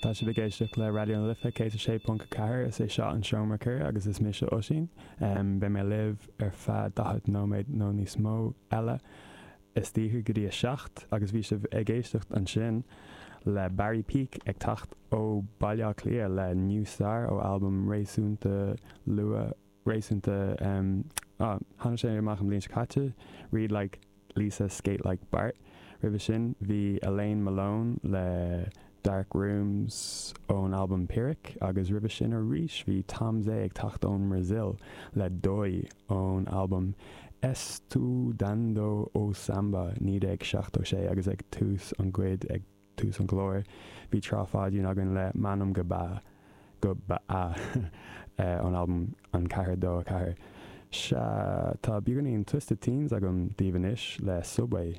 Tá sibh ag éisteacht le Raidió na Life 106.4, is é seo an Seomra Ceoil agus is mise Oisín. Beidh mé libh ar feadh 40 nóiméad nó níos mó eile istoíche go dtí a 7 agus bhí sibh ag éisteacht ansin le Barry Peake ag teacht ó Baile Átha Cliath le New Star ó albam réasúnta luath, réasúnta, ah, tháinig sé amach an bhliain seo caite, Read Like Lisa Skate Like Bart. Roimhe sin bhí Elaine Malone le Dark Rooms ón albam Pyrrhic agus roimhe sin arís bhí Tom Zé ag teacht ón mBrasaíl le Dói ón albam Estudando o Samba 1976 agus ag tús an gcuid ag tús an chláir bhí Trá Pháidín againn le M'anam go Ba go Ba Ea ón albam An 4 2 4. Sea, tá beagáinín Twisted Teens agam daoibh anois le Subway.